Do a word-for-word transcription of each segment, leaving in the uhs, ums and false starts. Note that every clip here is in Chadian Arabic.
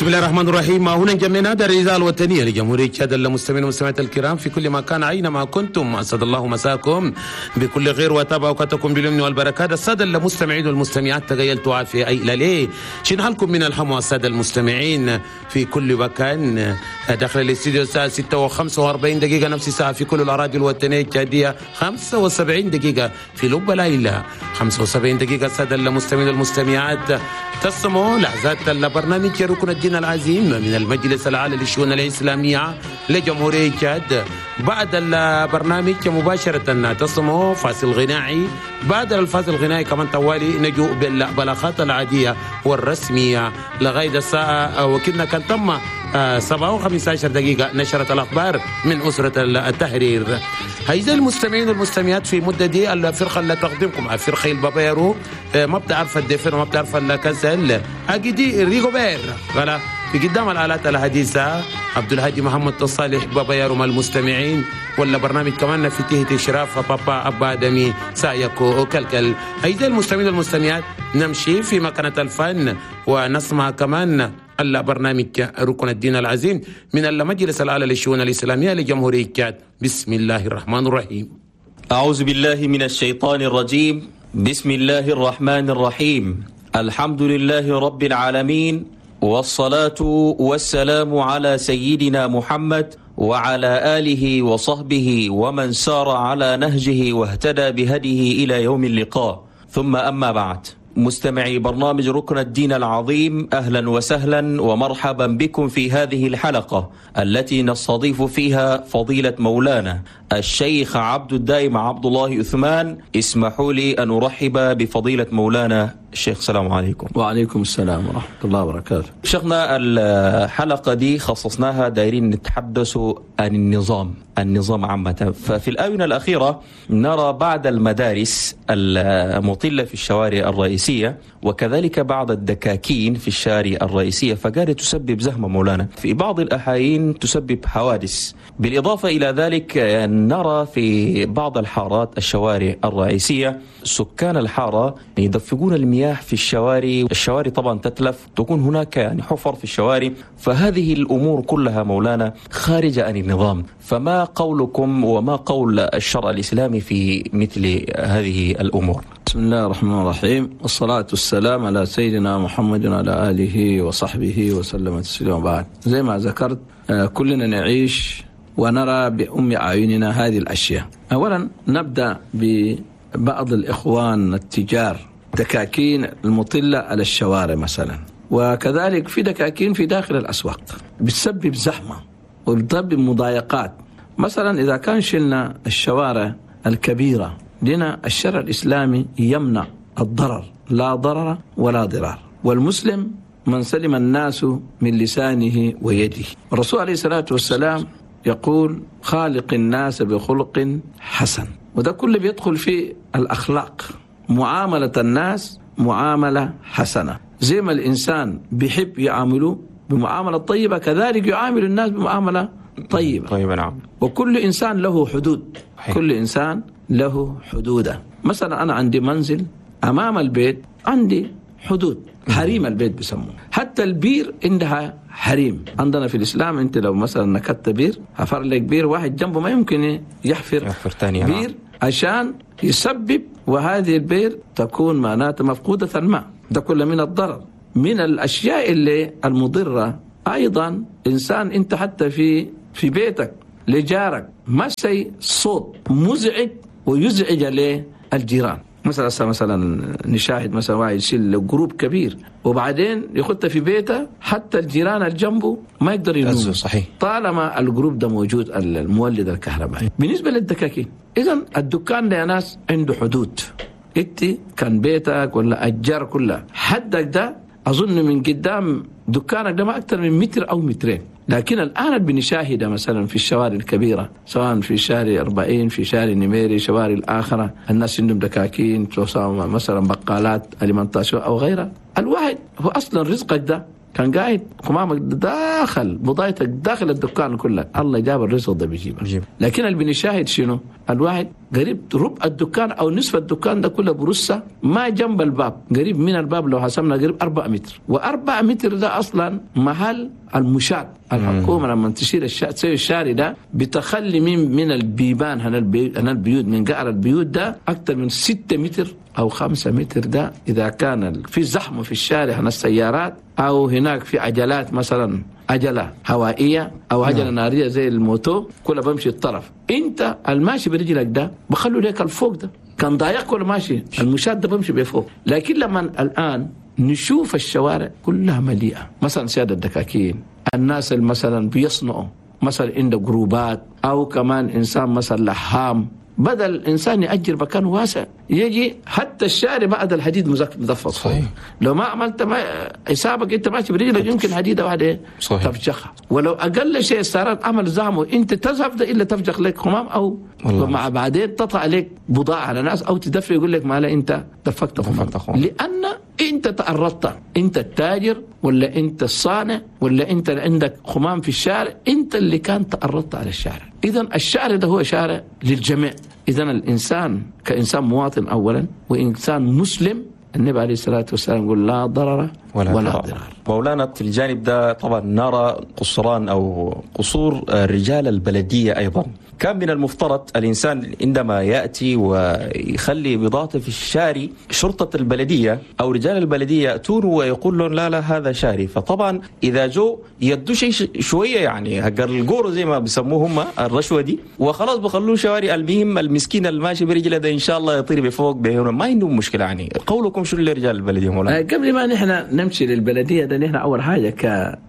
بسم الله الرحمن الرحيم. هنا جمعنا دار الإذاعة الوطنية لجمهورية تشاد. المستمعين والمستمعات الكرام في كل مكان أينما كنتم، أسعد الله مساكم بكل خير وتابع أوقاتكم باليمن والبركات. السادة المستمعين والمستمعات تغيلتوا عافية أي ليه شن حالكم من الحموى. السادة المستمعين في كل مكان داخل الاستديو الساعة ستة وخمسة وأربعين دقيقة، نفس الساعة في كل الأراضي الوطنية التشادية، خمسة وسبعين دقيقة في لب ليلى، خمسة وسبعين دقيقة. السادة المستمعين والمستمعات تسمعوا لحظات البرنامج ركن الدين العظيم من المجلس الأعلى للشؤون الإسلامية لجمهورية تشاد. بعد البرنامج مباشرة تسمعوا فاصل غنائي، بعد الفاصل الغنائي كمان توالي نجو بالبلاغات العادية والرسمية لغاية الساعة وكنا كان تم سبعة وخمسة عشر دقيقة نشرة الأخبار من أسرة التحرير. أعزائي المستمعين والمستمعات في مدة دي الفرقة اللي تقدمكم فرقة البابيرو ما بتعرف الدفن وما بتعرف الكسل أجدي ريغوبير غلا في قدام الآلات الحديثة عبد الهادي محمد الصالح بابا مع المستمعين، ولا برنامج كمان في تهت إشراف بابا أبا دمي سايكو وكلكل. أعزائي المستمعين والمستمعات نمشي في مكانة الفن ونسمع كمان البرنامج ركن الدين العظيم من المجلس الأعلى للشؤون الإسلامية لجمهورية تشاد. بسم الله الرحمن الرحيم. أعوذ بالله من الشيطان الرجيم. بسم الله الرحمن الرحيم. الحمد لله رب العالمين، والصلاة والسلام على سيدنا محمد وعلى آله وصحبه ومن سار على نهجه واهتدى بهديه إلى يوم اللقاء. ثم أما بعد، مستمعي برنامج ركن الدين العظيم، أهلا وسهلا ومرحبا بكم في هذه الحلقة التي نستضيف فيها فضيلة مولانا الشيخ عبد الدائم عبد الله عثمان. اسمحوا لي أن أرحب بفضيلة مولانا الشيخ. السلام عليكم. وعليكم السلام ورحمة الله وبركاته. شيخنا، الحلقة دي خصصناها دايرين نتحدث عن النظام، النظام عامة. ففي الآونة الأخيرة نرى بعض المدارس المطلة في الشوارع الرئيسية وكذلك بعض الدكاكين في الشارع الرئيسية، فقالت تسبب زحمة مولانا، في بعض الأحايين تسبب حوادث. بالإضافة إلى ذلك نرى في بعض الحارات الشوارع الرئيسية سكان الحارة يدفقون المياه في الشوارع، الشوارع طبعا تتلف، تكون هناك يعني حفر في الشوارع. فهذه الأمور كلها مولانا خارجة عن النظام، فما قولكم وما قول الشرع الإسلامي في مثل هذه الأمور؟ بسم الله الرحمن الرحيم، والصلاة والسلام على سيدنا محمد وعلى آله وصحبه وسلم تسليما. بعد، زي ما ذكرت كلنا نعيش ونرى بأم أعيننا هذه الأشياء. أولا نبدأ ببعض الإخوان التجار، دكاكين المطلة على الشوارع مثلا، وكذلك في دكاكين في داخل الأسواق بتسبب زحمة وبتسبب مضايقات. مثلا إذا كان شلنا الشوارع الكبيرة، لنا الشرع الإسلامي يمنع الضرر، لا ضرر ولا ضرار، والمسلم من سلم الناس من لسانه ويده. الرسول عليه الصلاة والسلام يقول خالق الناس بخلق حسن، وده كله بيدخل في الأخلاق، معاملة الناس معاملة حسنة. زي ما الإنسان بيحب يعامله بمعاملة طيبة، كذلك يعامل الناس بمعاملة طيبة. طيبة، نعم. وكل إنسان له حدود، حي. كل إنسان له حدوده. مثلا أنا عندي منزل أمام البيت، عندي حدود، حريم البيت بيسموه. حتى البير عندها حريم. عندنا في الإسلام أنت لو مثلا نكت بير، حفر لك بير واحد جنبه ما يمكن يحفر, يحفر تاني بير عشان يسبب، وهذه البير تكون معناتها مفقودة الماء. ده كله من الضرر. من الأشياء اللي المضرة أيضا، إنسان أنت حتى في في بيتك لجارك ما سي صوت مزعج ويزعج عليه الجيران. مثلا مثلا نشاهد مثلا واحد يشيل groupe كبير وبعدين يخط في بيته، حتى الجيران اللي جنبه ما يقدر ينوم. صحيح. طالما ال groupe ده موجود، المولد الكهربائي. بالنسبة للدكاكين، إذا الدكان ده يا ناس عنده حدود. انت كان بيتك ولا أجار كلها حدك ده أظن من قدام دكانك ده ما أكثر من متر أو مترين. لكن الآن بنشاهده مثلا في الشوارع الكبيرة، سواء في شارع أربعين، في شارع نميري، شوارع الآخرة، الناس عندهم دكاكين مثلا بقالات alimentation أو غيرها، الواحد هو اصلا رزقك ده كان قاعد قمامك داخل بضاعتك داخل الدكان كلها، الله جاب الرزق ده بيجيبه. لكن اللي بنشاهد شنو؟ الواحد قريب ربع الدكان او نصف الدكان ده كله برصه ما جنب الباب، قريب من الباب لو حسبنا قريب أربعة متر، وأربعة متر ده اصلا محل المشاة. الحكومة لما تشيل الشا... تسوي الشارع ده بتخلي من من البيبان هنا البي... هنا البيوت من قعر البيوت ده اكثر من ستة متر او خمسة متر. ده اذا كان في زحمة في الشارع هنا السيارات او هناك في عجلات مثلا عجله هوائية او عجله نارية زي الموتو كلها بمشي الطرف، انت الماشي برجلك ده بخلوا لك الفوق ده كان ضايق ولا ماشي المشاة ده بمشي بفوق. لكن لما الان نشوف الشوارع كلها مليئة مثلا سيادة الدكاكين، الناس اللي مثلا بيصنعوا مثلا عنده جروبات او كمان انسان مثلا لحام، بدل الانسان ياجر مكان واسع يجي حتى الشارع بعد الحديد مزفت. صحيح. لو ما عملت ما حسابك انت ماشي برجلك يمكن حديده واحدة تفجخها، ولو اقل شيء السيارات عمل زحمة انت تذهب ده الا تفجخ لك خمام او مع بعدين تطلع عليك بضاعة على ناس او تدفع يقول لك ما لا انت دفقت خمام، لان انت تعرضت، انت التاجر ولا انت الصانع ولا انت اللي عندك خمام في الشارع، انت اللي كان تعرضت على الشارع. اذا الشارع ده هو شارع للجميع. اذا الانسان كانسان مواطن اولا وانسان مسلم، النبي عليه الصلاة والسلام يقول لا ضرر ولا, ولا ضرار. مولانا في الجانب ده طبعا نرى قصران أو قصور رجال البلدية أيضا. كان من المفترض الإنسان عندما يأتي ويخلي بضاعته في الشارع شرطة البلدية أو رجال البلدية يأتون ويقول لهم لا لا هذا شاري. فطبعا إذا جو يدوا شيء شوية يعني هجر الجور زي ما بيسموه هم الرشوة دي وخلاص بخلوه شواري. المهم المسكين الماشي برجله ده إن شاء الله يطير بفوق بهنا ما عندهم مشكلة. يعني قولكم شو لرجال البلدية مولانا؟ قبل ما نحن نمشي للبلدية ده نحن أول حاجة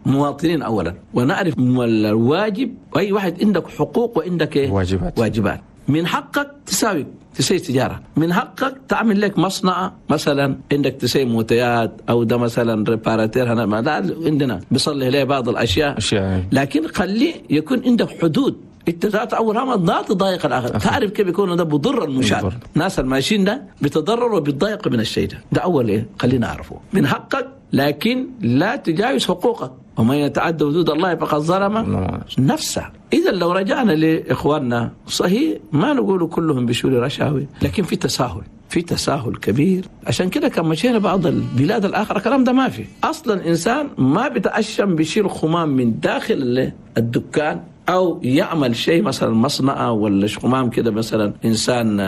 كمواطنين أولا ونعرف الواجب. أي واحد عندك حقوق وعندك واجبات. واجبات. من حقك تساوي تسوي تجارة، من حقك تعمل لك مصنع مثلا، عندك تسوي موتيات أو ده مثلا réparateur هنا ما ده عندنا بيصلح له بعض الأشياء أشياء. لكن خليه يكون عندك حدود. انت ذات اول ما لا تضايق الاخر، تعرف كيف يكون ده بضر المشاة، الناس الماشيين ده بيتضرروا وبيتضايقوا من الشيء ده. ده اول ايه خلينا نعرفه. من حقك لكن لا تجاوز حقوقك، ومن يتعدى حدود الله فقد ظلم نفسه. اذا لو رجعنا لاخواننا صحيح ما نقول كلهم بشوري رشاوي، لكن في تساهل، في تساهل كبير. عشان كده كان مشينا بعض البلاد الآخرة كلام ده ما في أصلا. إنسان ما بيتأشم بيشيل خمام من داخل الدكان أو يعمل شيء مثلا مصنع ولا خمام كده، مثلا إنسان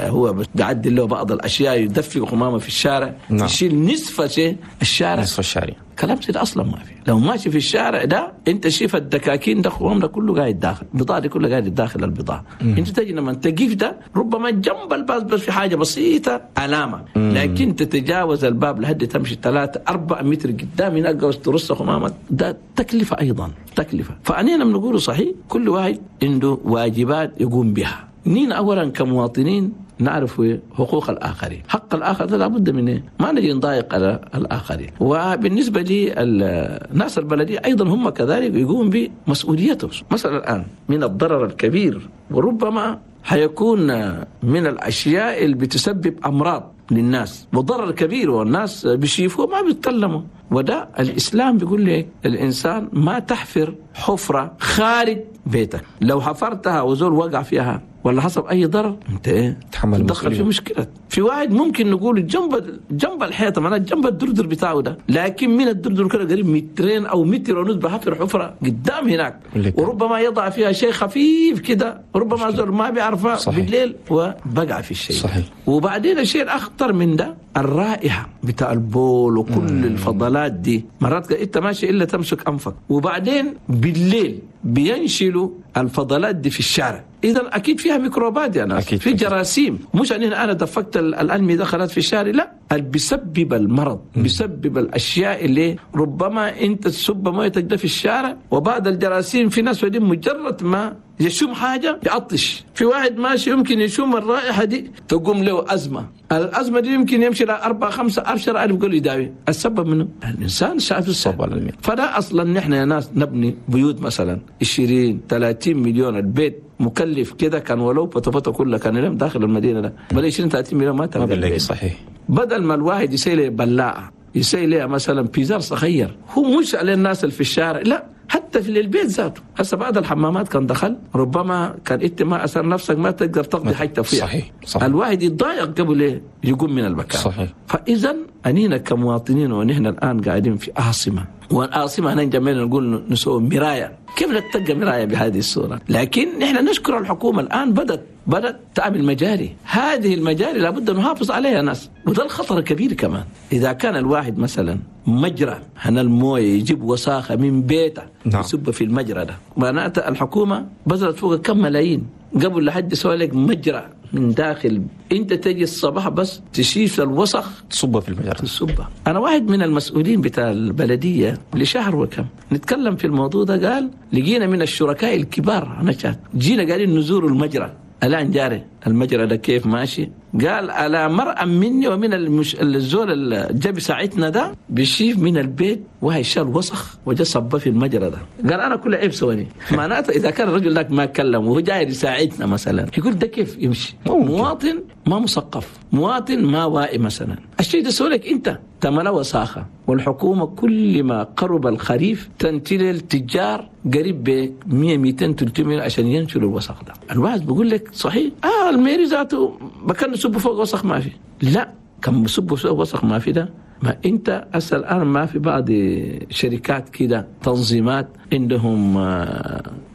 هو بيعدل له بعض الأشياء يدفق خمامه في الشارع. نعم. يشيل نصف شيء الشارع، نصف الشارع كلام سيد أصلا ما في. لو ماشي في الشارع ده أنت شايف الدكاكين ده خمام ده كله قاعد داخل البضاعة دي كلها قاعد داخل البضاعة. أنت تجي لما تقف ده ربما جنب الباب بس في حاجة بسيطة علامة، لكن تتجاوز الباب لحد تمشي ثلاثة أربعة متر قدام هناك ترص خمامك ده تكلفة أيضا تكلفة. فأنينا بنقول صحيح كل واحد عنده واجبات يقوم بها. نين أولا كمواطنين نعرف حقوق الآخرين، حق الآخر ده لابد منه، ما نجي نضايق على الآخرين. وبالنسبة للناس البلدية أيضا هم كذلك يقوم بمسؤوليتهم. مثلا الآن من الضرر الكبير وربما حيكون من الأشياء اللي بتسبب أمراض للناس وضرر كبير، والناس بيشوفوه ما بيتكلموا. وده الإسلام بيقول لك الإنسان ما تحفر حفرة خارج بيتك، لو حفرتها وزول وقع فيها ولا حصل أي ضرر أنت إيه تحمل تدخل في مشكلة. في واحد ممكن نقول جنب جنب الحيطة معناه جنب الدردر بتاعه ده، لكن من الدردر كده قريب مترين أو متر ونص بحفر حفرة قدام هناك، وربما يضع فيها شيء خفيف كده ربما زول ما بيعرفها بالليل وبقع في الشيء. صحيح. وبعدين الشيء الأخطر من ده الرائحة بتاع البول وكل مم. الفضلات دي مرات انت ماشي إلا تمسك أنفك، وبعدين بالليل بينشلوا الفضلات دي في الشارع. إذا أكيد فيها ميكروبات يا ناس، في جراثيم. مش أن أنا دفقت الأنمي دخلت في الشارع، لا، بيسبب المرض، بيسبب الأشياء اللي ربما أنت تسب مويتك ده في الشارع. وبعد الجراثيم في ناس ودي مجرد ما يشم حاجة يعطش، في واحد ماشي يمكن يشم الرائحة دي تقوم له أزمة، الأزمة دي يمكن يمشي لها أربعة خمسة عشر ألف قول يداوي. السبب منه الإنسان شاف السبب. فده أصلا نحن يا ناس نبني بيوت مثلا عشرين ثلاثين مليون، البيت مكلف كده كان ولو بطبطة كلها كان لهم داخل المدينة ده بل عشرين ثلاثين مليون ما تلقى. صحيح. بدل ما الواحد يسيل بلاعة يسوي لها مثلا بيزار صغير، هو مش على الناس اللي في الشارع، لا حتى في البيت ذاته. هسه بعض الحمامات كان دخل ربما كان انت ما اثر نفسك ما تقدر تقضي حاجتك فيها. صحيح. صحيح. الواحد يتضايق قبل ايه يقوم من المكان. صحيح. فاذا انينا كمواطنين ونحن الان قاعدين في عاصمه، والعاصمه هنا جميل نقول نسوي مرايه، كيف نتلقى مرايه بهذه الصوره؟ لكن نحن نشكر الحكومه الان بدت بدت تعمل مجاري، هذه المجاري لابد أن نحافظ عليها ناس، وده الخطر الكبير كمان. إذا كان الواحد مثلا مجرى هنا المويه يجيب وساخة من بيته نعم. يصب في المجرى ده، معناته الحكومة بذلت فوق كم ملايين قبل لحد يسوي لك مجرى من داخل، انت تجي الصباح بس تشيل الوسخ تصبه في المجرى تصبه. انا واحد من المسؤولين بتاع البلديه لشهر وكم نتكلم في الموضوع ده، قال لقينا من الشركاء الكبار انا شات جينا قالين نزور المجرى الآن جاري المجرى ده كيف ماشي، قال على مرأة مني ومن المش... الزول اللي جاب ساعتنا ده بيشيف من البيت وهي شال وسخ وجا صبه في المجرى ده، قال أنا كل عيب سواني. معناته إذا كان الرجل لك ما كلم وهو جاي يساعدنا مثلا يقول ده كيف يمشي؟ مواطن ما مثقف، مواطن ما واعي مثلا، الشيء ده سولك أنت تملا وساخة. والحكومة كل ما قرب الخريف تنتل التجار قريب ب مية مئتين ثلاثمية عشان ينشلوا الوسخ ده. الواحد بيقول لك صحيح آه الميري ذاته بكن يصب فوق وسخ ما في، لا كان بيصب فوق وسخ ما في ده. ما انت هسه الان ما في بعض شركات كده تنظيمات عندهم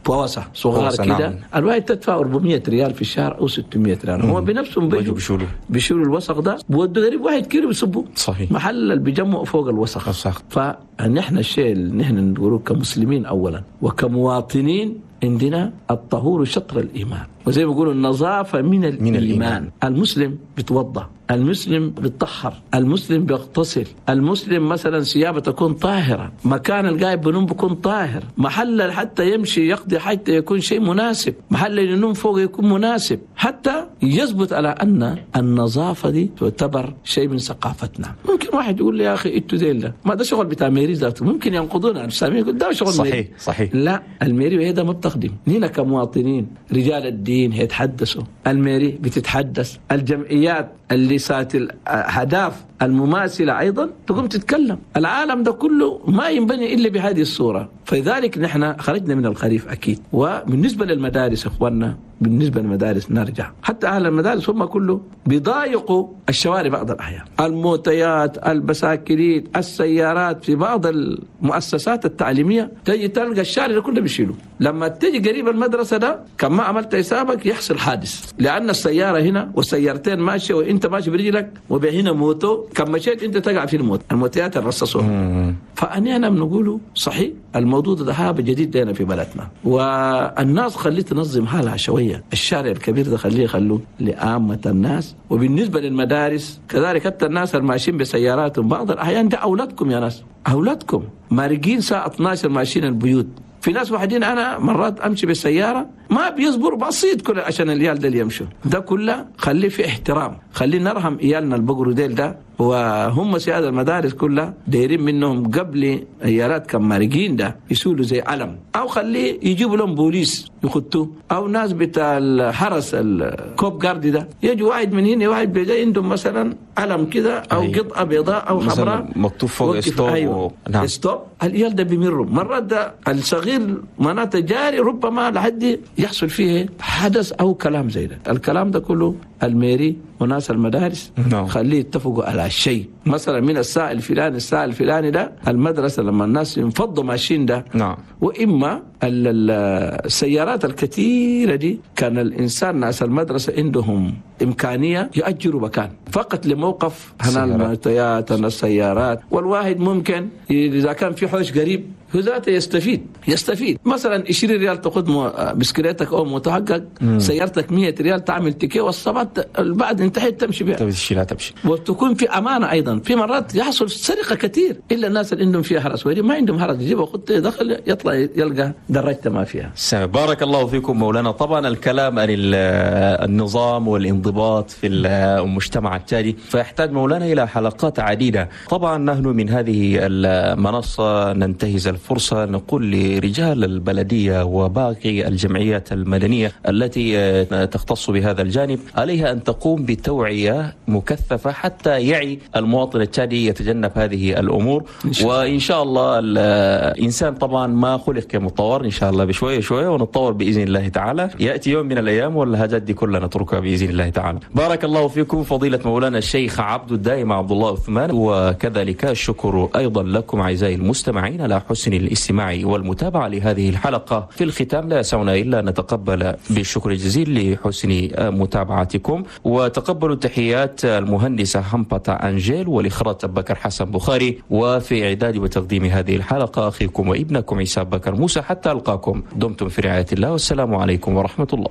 بواسة صغار كده، نعم. الواحد تدفع أربعمية ريال في الشهر او ستمية ريال، هو بنفسهم بيجوا بيشيلوا بيشيلوا الوسخ ده، بودوا قريب واحد كيلو بيصبوا صحيح محل اللي بيجمعوا فوق الوسخ. صح. فنحن الشيء اللي نحن نقوله كمسلمين اولا وكمواطنين عندنا الطهور شطر الإيمان، وزي ما بيقولوا النظافة من الإيمان. من الإيمان. المسلم بيتوضأ، المسلم بيتطهر، المسلم بيغتسل، المسلم مثلا ثيابه تكون طاهرة، مكان القاعد بنوم بيكون طاهر، محل حتى يمشي يقضي حتى يكون شيء مناسب، محل ينوم فوق يكون مناسب، حتى يثبت على أن النظافة دي تعتبر شيء من ثقافتنا. ممكن واحد يقول لي يا أخي انتوا زي ده ما ده شغل بتاع ميري ذاته، ممكن ينقضونا السامي يقول ده شغل صحيح ميري. صحيح. لا الميري هذا ما بتخدم نينا كمواطنين، رجال الدين يتحدثوا، الميري بتتحدث، الجمعيات اللي سات الأهداف المماثلة أيضا تقوم تتكلم. العالم ده كله ما ينبني إلا بهذه الصورة. فلذلك نحن خرجنا من الخريف أكيد. وبالنسبة للمدارس إخواننا، بالنسبة للمدارس نرجع حتى أهل المدارس هم كله بيضايقوا الشوارع بعض الأحيان، الموتيات، البساكليت، السيارات في بعض المؤسسات التعليمية تجي تلقى الشارع كله بيشيلوا. لما تجي قريب المدرسة ده كما عملت حسابك يحصل حادث، لأن السيارة هنا والسيارتين ماشية وإنت ماشي برجلك وبهنا موتو، كم مشيت أنت تقع في الموت، الموتيات الرصاصون. فأنا أنا بنقوله صحيح الموضوع ده هذا جديد لنا في بلدنا، والناس خليه تنظم حالها شوية. الشارع الكبير ده خليه يخلوه لعامة الناس. وبالنسبة للمدارس كذلك، حتى الناس الماشيين بسياراتهم بعض الأحيان ده أولادكم يا ناس، أولادكم مارقين ساعة اثناشر ماشيين البيوت. في ناس واحدين أنا مرات أمشي بالسيارة ما بيصبروا بسيط كله عشان العيال ده اللي يمشوا ده كله، خليه في احترام، خليه نرحم عيالنا البقروا ديل ده. وهم سيادة المدارس كلها دايرين منهم قبل عيالات كم مارقين ده يسولوا زي علم، أو خليه يجيبوا لهم بوليس يخطوه، أو ناس بتاع الحرس الكوب جارد ده يجوا واحد من هنا واحد بيجي عندهم مثلا علم كده أو أيوة. قطعة بيضاء أو حمراء مكتوب فوق stop. أيوة. و... نعم. stop. العيال ده بيمروا مرات ده الصغير معناته جاري ربما لحد يحصل فيه حدث أو كلام زي ده. الكلام ده كله الميري وناس المدارس no. خليه يتفقوا على شيء، مثلا من الساعة الفلاني الساعة الفلاني ده المدرسة لما الناس ينفضوا ماشيين ده no. وإما السيارات الكثيرة دي كان الإنسان ناس المدرسة عندهم إمكانية يأجروا مكان فقط لموقف هنا الموتيات هنا السيارات، والواحد ممكن إذا كان في حوش قريب هو ذاته يستفيد يستفيد مثلا عشرين ريال تاخذ بسكليتك او متحقق سيارتك مية ريال تعمل تيكي والصباح بعد انتهيت تمشي بها تمشي تمشي، وتكون في امانه. ايضا في مرات يحصل سرقه كثير الا الناس اللي عندهم فيها حرس، ما عندهم حرس يجيبوا خطه دخل يطلع يلقى درجته ما فيها. بارك الله فيكم مولانا. طبعا الكلام عن النظام والانضباط في المجتمع التالي فيحتاج مولانا الى حلقات عديده. طبعا نحن من هذه المنصه ننتهز الفرصة نقول لرجال البلدية وباقي الجمعيات المدنية التي تختص بهذا الجانب، عليها أن تقوم بتوعية مكثفة حتى يعي المواطن التشادي يتجنب هذه الأمور. وإن شاء الله الإنسان طبعا ما خلق كمتطور، إن شاء الله بشوية شوية ونتطور بإذن الله تعالى، يأتي يوم من الأيام والهاجات دي كلها نتركها بإذن الله تعالى. بارك الله فيكم فضيلة مولانا الشيخ عبد الدائم عبد الله عثمان، وكذلك الشكر أيضا لكم أعزائي المستمعين على حسن الاستماع والمتابعة لهذه الحلقة. في الختام لا يسعنا إلا نتقبل بالشكر الجزيل لحسن متابعتكم، وتقبلوا تحيات المهندسة همبتا أنجيل والإخراج بكر حسن بخاري، وفي إعداد وتقديم هذه الحلقة أخيكم وابنكم عيسى بكر موسى. حتى ألقاكم، دمتم في رعاية الله، والسلام عليكم ورحمة الله.